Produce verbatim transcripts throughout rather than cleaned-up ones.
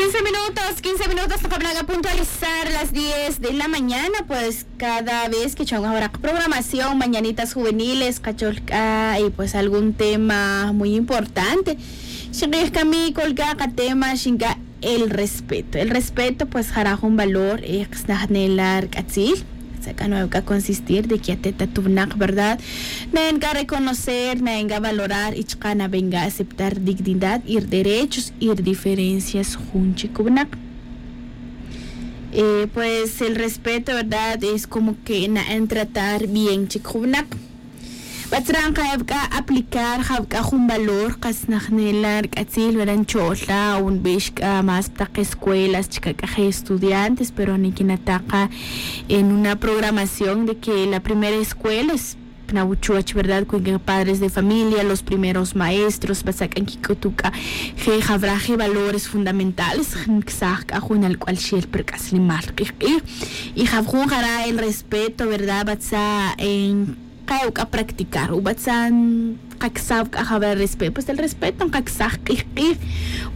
Quince minutos, quince minutos nqab'ana' k'a puntualizar las diez de la mañana. Pues cada vez que chawin awara' qaprogramación mañanitas juveniles qachol k'a y pues algún tema muy importante. Xinq'ij k'a mi k'ol k'a qatema xin k'a el respeto. El respeto pues jara' jun valor qasnajnel la rk'atzil. Tza k'a nuevo k'a consistir de que atet atuvinaq, verdad, naen k'a reconocer, naen k'a valorar y chqa' naven k'a aceptar dignidad y derechos y diferencias jun chik winaq. Pues el respeto, verdad, es como que naen tratar bien chik jun winaq. Batzra' nqaev k'a aplicar jav k'a jun valor qasnajnel la rk'atzil, verdad, ncho'l la o nbix k'a más pa taq escuelas chik ak'aje' estudiantes, pero nikinata' qa en una programación de que la primera escuela es pa nawuchuoch, verdad, cuenca padres de familia, los primeros maestros, batza' k'a nkik'utu' k'a je' javra je' valores fundamentales nksaj k'a jun alk'ual xel pa rk'aslimal q'ij q'ij. Y jav jun jara' el respeto, verdad, batza' nqaev k'a practicar o batza' nqaksav k'a javra respeto. Pues el respeto nqaksaj q'ij q'ij.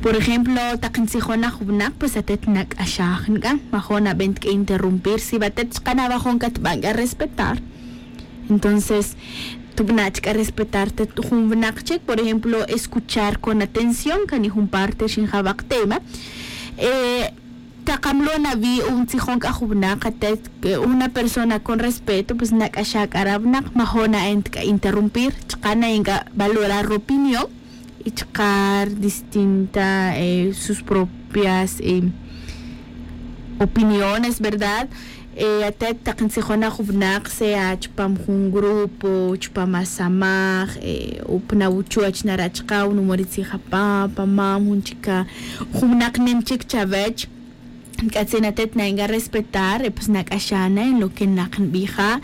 Por ejemplo, taq ntzijon na jun winaq, pues atet nak'axaj nk'a, majo'n ab'ent k'a interrumpir. Si ba atet chqa' nabajon katb'an k'a respetar, entonces tub'na' chik k'a respetar tet jun winaq chik. Por ejemplo, escuchar con atención, kani jun parte xinjawaq tema. Taq amlo' nawi' o ntzijon k'a jun winaq atet, una persona con respeto, pues nak'axaj k'a ra winaq, majo'n naen ta k'a interrumpir, chqa' naen k'a valorar ropinión y chqa' distinta sus propias opiniones, verdad. Atet taq ntzijon na jun winaq, sea chupam jun grupo, chupam asamaj o pa nawuchuoch nara' chqa' o numo' ri tzij apa' pa mam jun chik, jun winaq nim chik chawech, nk'atzin atet naen k'a respetar, pues nak'axaj na en lo que naq nb'ija'.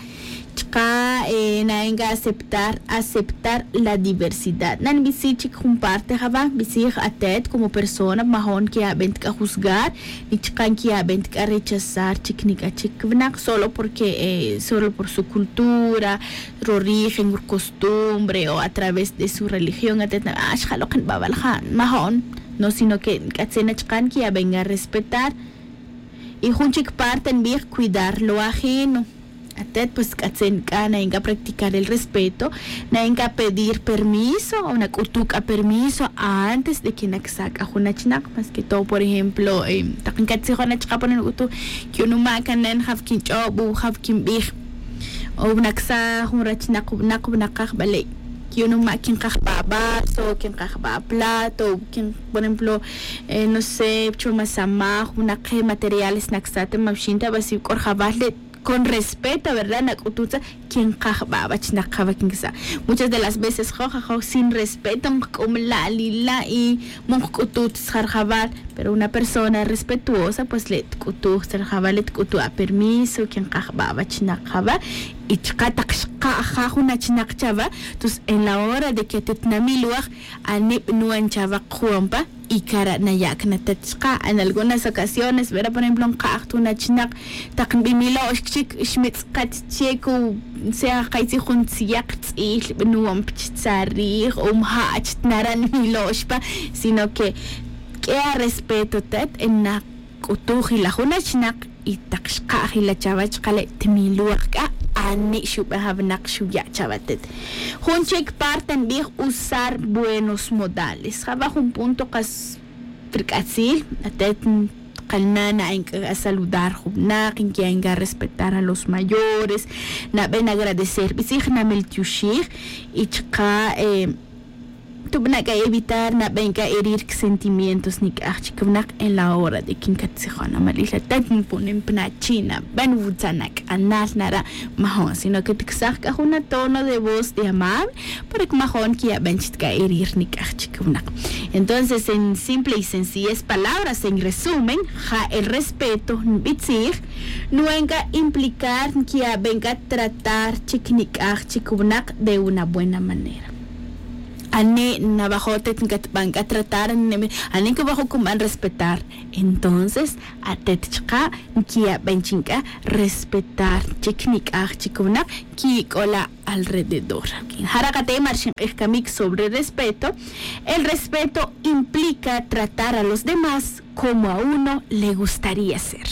Chqa' naen k'a aceptar, aceptar la diversidad. Na nb'isi chik jun parte java', nb'isij atet como persona majo'n nkiya' b'ent k'a juzgar, ni chqa' nkiya' b'ent k'a rechazar chik nik'a chik winaq solo porque solo por su cultura, rorigen, rucostumbre o a través de su religión atet nab'an xjaloq nb'a' wal ja', majo'n. No, sino que nk'atzin na chqa' nkiya' b'en k'a respetar. Y jun chik parte nb'ij cuidar lo ajeno. Atet pues k'atzin k'a naen k'a practicar el respeto, naen k'a pedir permiso o nak'utu' k'a permiso antes de que naksa' k'a jun achinaq. Más que todo, por ejemplo, taq nkatzijon na chqa' pone nak'utu', ki'unuma' k'a nen jaw kinch'ob o jaw kinb'ij. O naksa' jun rachinaq o winaq, winaqaj, vale, ki'unuma' kinqaj b'a' vaso, kinqaj b'a' plato, por ejemplo, no sé, chuwam asamaj, winaq materiales naksa' ta, ma wixin ta, va si k'o rjawal le' con respeto, verdad, nak'utu' tza, kinqaj b'a' va chinaq java' kinkisa'. Muchas de las veces joj, ajoj sin respeto nqk'um la' li' la' y ma nqk'utu' ta tzja rjawal. Pero una persona respetuosa pues le' tk'utuj tzja rjawal, le' tk'utu' apermiso, kinqaj b'a' va chinaq java'. Y chqa' taq xqa' ja jun achinaq chava', entonces en la hora de que atet namilwaj, ani b'nuwan chava' qjuwan pa y cara' naya' can atet chqa'. En algunas ocasiones, verdad, por ejemplo nqa'aj ta jun achinaq, taq nb'imilo'x chik xmitz'kat chik, o sea, jay tzij jun tziyaq tz'il b'nuwan pa chi tzarij o mja' ach ta nara' nmilo'x pa, sino que k'e arespeto tet, nak'utuj ila jun achinaq y taq xqa' jila chava' chqa' le' tmilwaj k'a ani xub'ej awinaq xuya' chava' tet. Jun chik parte nb'ij usar buenos modales. Java' jun punto qas rk'atzil, atet qalna' naen k'a saludar jun winaq, nkiya' k'a respetar a los mayores, naben agradecer, b'isij namil tioxij y chqa' tub'na' k'a evitar naben k'a herir sentimientos nik'aj chik winaq en la hora de que nkatzijon amalil atet, nponen pa nachi', naben wutza' nak'anal nara', majo'n, sino que tiksaj k'a jun atono de voz de amable para que majo'n nkiya' b'en chik ta k'a herir nik'aj chik winaq. Entonces, en simple y sencillez palabras, en resumen, ja el respeto nb'itzij, nuen k'a implicar nkiya' b'en k'a tratar chik nik'aj chik winaq de una buena manera. Ane' nawajo' tet nkatban k'a tratar, ane' nkawajo' kunban respetar. Entonces atet chaka' nkiyaben chi nk'a respetar chik nik'aj chik winaq nkik'ola' alrededor. Jara' qate' ma' rixin q'ij kamik sobre respeto. El respeto implica tratar a los demás como a uno le gustaría ser.